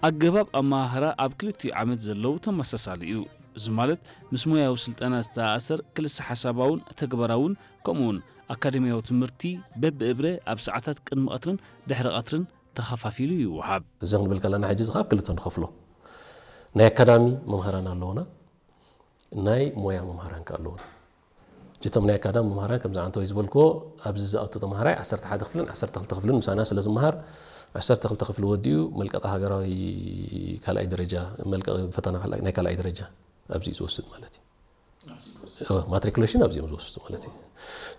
ኣገባብ ኣመሃህራ ኣብ ክልቲኡ ዓመት ዘለዉ ተመሳሳሊ እዩ። እዚ ማለት ምስ ሞያዊ ስልጠና ዝተኣሳሰር ክልሰ ሓሳባውን ተግባራውን ከምኡውን ኣካደሚያዊ ትምህርቲ በብእብረ ኣብ ሰዓታት ቅድሚ ቀትርን ድሕሪ ቀትርን ተኸፋፊሉ ይወሃብ። እዚ ክንብል ከለና ሕጂ እዚ ካብ ክልተ ንኸፍሎ። ናይ ኣካዳሚ መምህራን ኣለውና፣ ናይ ሞያ መምህራን ከ ኣለውና። እቶም ናይ ኣካዳሚ መምህራን ከምዚ ዓንተወይ ዝበልክዎ ኣብዚ ዝኣቱ ተምሃራይ ዓሰርተ ሓደ ክፍልን ዓሰርተ ክልተ ክፍልን ምሳና ስለ ዝመሃር ዓሰርተ ክልተ ክፍሊ ወዲኡ መልቀቂ ሃገራዊ ካልኣይ ደረጃ፣ መልቀቂ ፈተና ካልኣይ፣ ናይ ካልኣይ ደረጃ ኣብዚ እዩ ዝወስድ ማለት እዩ። ማትሪኩሌሽን ኣብዚኦም ዝወስዱ ማለት እዩ።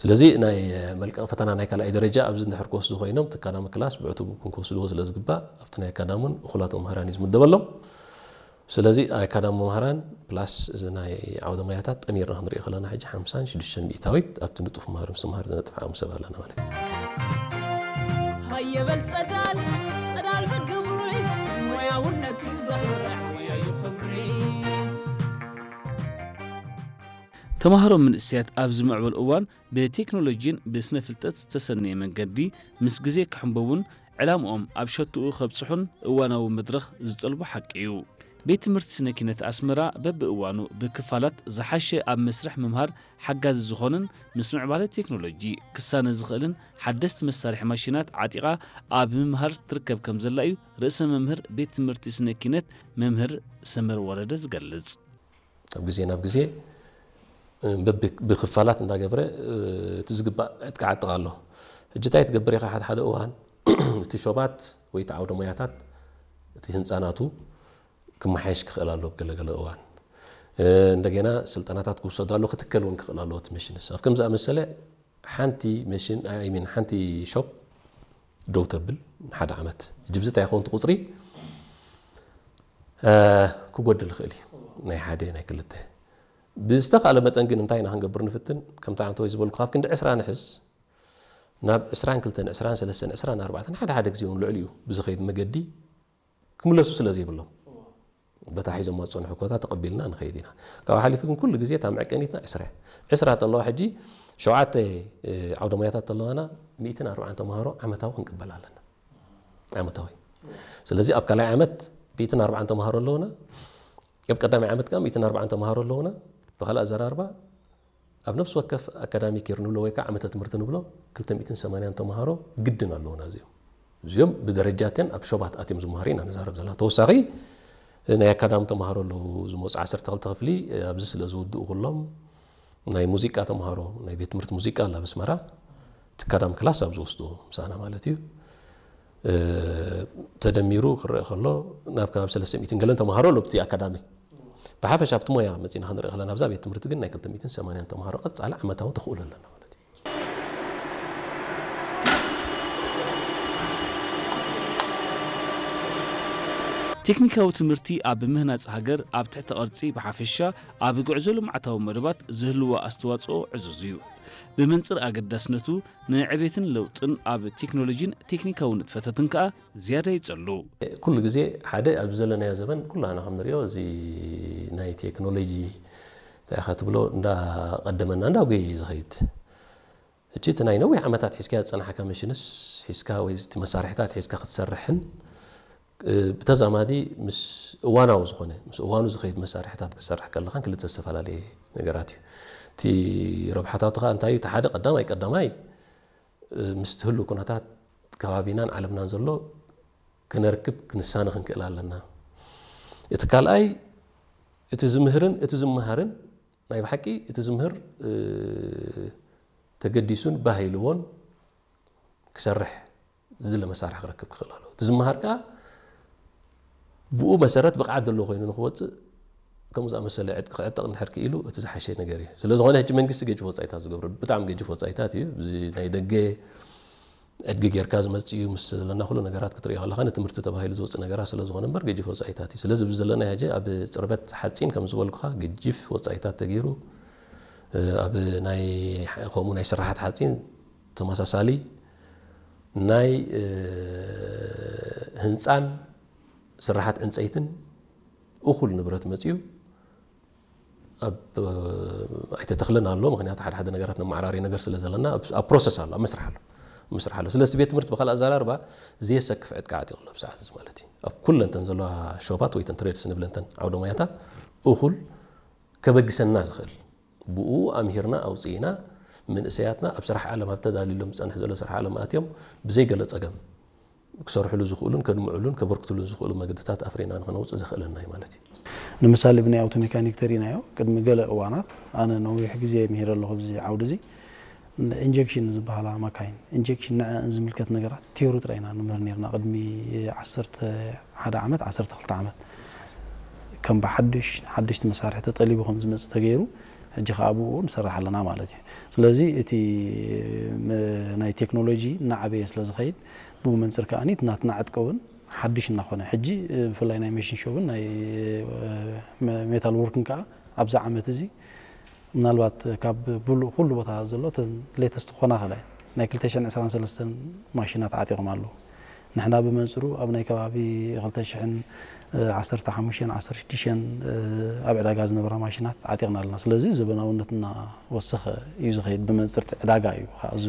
ስለዚ ናይ መልቀቂ ፈተና ናይ ካልኣይ ደረጃ ኣብዚ እንድሕር ክወስዱ ኮይኖም እቲ ኣካዳሚ ክላስ ብዕቱብ እውን ክወስድዎ ስለ ዝግባእ ኣብቲ ናይ ኣካዳሚ እውን እኹላት መምህራን እዩ ዝምደበሎም። ስለዚ ኣካዳሚ መምህራን ፕላስ እዚ ናይ ዓውደ ሞያታት ጠሚርና ክንሪኦ ከለና ሕጂ ሓምሳን ሽዱሽተን ሚእታዊት ኣብቲ ንጡፍ መምህር ምስትምሃር ዝነጥፍ ዓቕሚ ሰብ ኣለና ማለት እዩ። ሃየበል ጸዳል ጸዳል በገብሪ ሞያውነቱ ዘኹርዕ ሞያ እዩ ክብሪ። ተማሃሮ መንእሰያት ኣብዚ ምዕበል እዋን ብቴክኖሎጂን ብስነ ፍልጠት ዝተሰነየ መንገዲ ምስ ግዜ ክሕንበቡን ዕላምኦም ኣብ ሸትኡ ከብጽሑን እዋናዊ መድረኽ ዝጠልቦ ሓቂ እዩ። ቤት ትምህርቲ ስነ ኪነት ኣስመራ በብእዋኑ ብክፋላት ዝሓሸ ኣብ መስርሕ ምምሃር ሓጋዚ ዝኾንን ምስ ምዕባለ ቴክኖሎጂ ክሳነ ዝኽእልን ሓደስቲ መሳርሒ ማሽናት ዓጢቓ ኣብ ምምሃር ትርከብ ከም ዘላ እዩ ርእሰ መምህር ቤት ትምህርቲ ስነ ኪነት መምህር ሰመር ወረደ ዝገልጽ። ካብ ግዜ ናብ ግዜ ብክፋላት እንዳገብረ እቲ ዝግባእ ዕጥቂ ዓጥቕ ኣሎ። ሕጂ እንታይ ትገብር ኢኻ? ሓደ ሓደ እዋን እቲ ሾባት ወይ እቲ ዓውደ ሞያታት እቲ ህንፃ ናቱ ክመሓየሽ ክኽእል ኣሎ። ገለገለ እዋን እንደገና ስልጠናታት ክውሰዱ ኣሎ፣ ክትከል እውን ክኽእል ኣለዎ እቲ መሽንስ። ኣብ ከም ዝኣመሰለ ሓንቲ መሽን ኣይሚን ሓንቲ ሾፕ ደው ተብል ንሓደ ዓመት ሕጂ ብዚ እንታይ ይኸውን እቲ ቁፅሪ ክጎድል ይኽእል እዩ። ናይ ሓደ ናይ ክልተ ብዝተኻለ መጠን ግን እንታይ ኢና ክንገብር ንፍትን? ከምቲ ዓንተወይ ዝበልኩ ካብ ክንዲ ዕስራ ንሕዝ ናብ ዕስራን ክልተን ዕስራን ሰለስተን ዕስራን ኣርባዕተን ሓደ ሓደ ግዜ እውን ልዕሊኡ ብዝኸይድ መገዲ ክምለሱ ስለ ዘይብሎም በታ ሒዞም ዝፀንሑ ኮታ ተቐቢልና ንኸይድ ኢና። ካብኡ ሓሊፉ ግን ኩሉ ግዜ እታ መዐቀኒትና ዕስራ እያ። ዕስራ ተለዋ ሕጂ ሸውዓተ ዓውደ ሞያታት ተለዋና ሚእትን ኣርባዓን ተምሃሮ ዓመታዊ ክንቅበል ኣለና። ዓመታዊ ስለዚ ኣብ ካልኣይ ዓመት ሚእትን ኣርባዓን ተምሃሮ ኣለውና። ኣብ ቀዳማይ ዓመት ከዓ ሚእትን ኣርባዓን ተምሃሮ ኣለውና። ብካልእ ኣዘራርባ ኣብ ነፍሲ ወከፍ ኣካዳሚክ የር ንብሎ ወይ ከዓ ዓመተ ትምህርቲ ንብሎ ክልተ ሚእትን ሰማንያን ተምሃሮ ግድን ኣለውና። እዚኦም እዚኦም ብደረጃትን ኣብ ሾባት ኣትዮም ዝመሃሩ ኢና ንዛረብ ዘለና። ተወሳኺ ናይ ኣካዳሚ ተምሃሮ ኣለዉ ዝመፁ ዓሰርተ ክልተ ክፍሊ ኣብዚ ስለ ዝውድኡ ኩሎም ናይ ሙዚቃ ተምሃሮ ናይ ቤት ትምህርቲ ሙዚቃ ኣላ ኣብ ኣስመራ እቲ ኣካዳሚ ክላስ ኣብ ዝወስድዎ ምሳና ማለት እዩ። ተደሚሩ ክረአ ከሎ ናብ ከባቢ ሰለስተ ሚእትን ገለን ተምሃሮ ኣሎ ኣብቲ ኣካዳሚ። ብሓፈሻ ኣብቲ ሞያ መፂና ክንርኢ ከለና ኣብዛ ቤት ትምህርቲ ግን ናይ ክልተ ሚእትን ሰማንያን ተምሃሮ ቀፃሊ ዓመታዊ ተኽእሎ ኣለና ማለት እዩ። ቴክኒካዊ ትምህርቲ ኣብ ምህናፅ ሃገር ኣብ ትሕቲ ቅርፂ ብሓፈሻ ኣብ ጉዕዞ ልምዓታዊ መደባት ዝህልዎ ኣስተዋፅኦ ዕዙዝ እዩ። ብመንፅር ኣገዳስነቱ ንዕቤትን ለውጥን ኣብ ቴክኖሎጂን ቴክኒካዊ ንጥፈታትን ከኣ ዝያዳ ይጸሉ። ኩሉ ግዜ ሓደ ኣብዚ ዘለናዮ ዘበን ኩላህና ከም ንሪኦ እዚ ናይ ቴክኖሎጂ እንታይ ኢኻ ትብሎ እንዳቐደመና እንዳጎየ እዩ ዝኸይድ። ሕጂ እቲ ናይ ነዊሕ ዓመታት ሒዝካዮ ዝጸናሕካ መሽንስ ሒዝካ ወይ እቲ መሳርሕታት ሒዝካ ክትሰርሕን ብተዛማዲ ምስ እዋናዊ ዝኾነ ምስ እዋኑ ዝኸይድ መሳርሕታት ክትሰርሕ ከለኻን ክልተ ዝተፈላለየ ነገራት እዩ። እቲ ረብሓታቱ ከዓ እንታይ እዩ? እቲ ሓደ ቀዳማይ ቀዳማይ ምስ ትህሉ ኩነታት ከባቢናን ዓለምናን ዘሎ ክነርክብ ክንሳነ ክንክእል ኣለና። እቲ ካልኣይ እቲ ዝምህርን እቲ ዝመሃርን ናይ ብሓቂ እቲ ዝምህር ተገዲሱን ባህ ኢልዎን ክሰርሕ ዝድለ መሳርሒ ክረክብ ክኽእል ኣለዎ። እቲ ዝመሃር ከዓ ብኡ መሰረት ብቕዓት ዘለዎ ኮይኑ ንክወፅእ ከምኡ ዝኣመሰለ ዕጥቂ ክዕጠቕ እንድሕር ክኢሉ እቲ ዝሓሸ ነገር እዩ። ስለ ዝኾነ ሕጂ መንግስቲ ገጅፍ ወፃኢታት ዝገብረሉ ብጣዕሚ ገጅፍ ወፃኢታት እዩ። እዚ ናይ ደገ ዕድጊ ጌርካ ዝመፅእ እዩ ምስ ዘለና ኩሉ ነገራት ክትሪኦ ከለካ ንትምህርቲ ተባሂሉ ዝወፅእ ነገራት ስለ ዝኾነ እምበር ገጅፍ ወፃኢታት እዩ። ስለዚ ኣብዚ ዘለና ሕጂ ኣብ ፅርበት ሓፂን ከም ዝበልኩኻ ገጅፍ ወፃኢታት ተገይሩ ኣብ ናይ ከምኡ ናይ ስራሓት ሓፂን ተመሳሳሊ ናይ ህንፃን ስራሓት ዕንፀይትን እኹል ንብረት መፅዩ ኣብ ኣይተተኽልን ኣሎ። ምክንያቱ ሓደ ሓደ ነገራት ነመዓራሪ ነገር ስለ ዘለና ኣብ ፕሮሰስ ኣሎ፣ ኣብ መስርሕ ኣሎ። ምስራሕ ኣሎ። ስለዚ ቤት ትምህርቲ ብካልእ ኣዘራርባ ዘየሰክፍ ዕጥቂ ዓጢቑ ኣሎ ብሰዓት እዚ ማለት እዩ። ኣብ ኩለንተን ዘለዋ ሾፓት ወይ ተን ትሬድስ ንብለንተን ዓውደ ሞያታት እኹል ከበግሰና ዝኽእል ብኡ ኣምሂርና ኣውፅኢና መንእሰያትና ኣብ ስራሕ ዓለም ኣብ ተዳልሎም ዝፀንሕ ዘሎ ስራሕ ዓለም ኣትዮም ብዘይ ገለ ፀገም ክሰርሕሉ ዝኽእሉን ከድምዕሉን ከበርክትሉን ዝኽእሉ መገድታት ኣፍሪና ንክነውፅእ ዘኽእለና እዩ ማለት እዩ። ንምሳሌ ብናይ ኣውቶ ሜካኒክ ተሪናዮ ቅድሚ ገለ እዋናት ኣነ ነዊሕ ግዜ ምሂረ ኣለኹ ኣብዚ ዓውዲ እዚ ኢንጀክሽን ዝበሃላ ማካይን ኢንጀክሽን ንዐን ዝምልከት ነገራት ቲዮሪ ጥራይ ኢና ንምህር ነርና ቅድሚ ዓሰርተ ሓደ ዓመት ዓሰርተ ክልተ ዓመት ከም ብሓድሽ ሓደሽቲ መሳርሒ ተጠሊቡ ከም ዝመፅእ ተገይሩ ሕጂ ከዓ ብኡ ንሰርሕ ኣለና ማለት እዩ። ስለዚ እቲ ናይ ቴክኖሎጂ እናዓበየ ስለ ዝኸይድ ብኡ መንፅር ከዓ ናትና ዕጥቂ እውን ሓድሽ እናኾነ ሕጂ ብፍላይ ናይ መሽን ሾብን ናይ ሜታል ወርክን ከዓ ኣብዚ ዓመት እዚ ምናልባት ካብ ብሉ ኩሉ ቦታ ዘሎ ተን ሌተስት ክኾና ከላይ ናይ ክልተ ሽሕን ዕስራን ሰለስተን ማሽናት ዓጢቖም ኣለዉ። ንሕና ብመንፅሩ ኣብ ናይ ከባቢ ክልተ ሽሕን ዓሰርተ ሓሙሽተን ዓሰርተ ሽዱሽተን ኣብ ዕዳጋ ዝነበራ ማሽናት ዓጢቕና ኣለና። ስለዚ ዘበናውነት እናወሰኸ እዩ ዝኸይድ። ብመንፅር እቲ ዕዳጋ እዩ ከዓ እዚ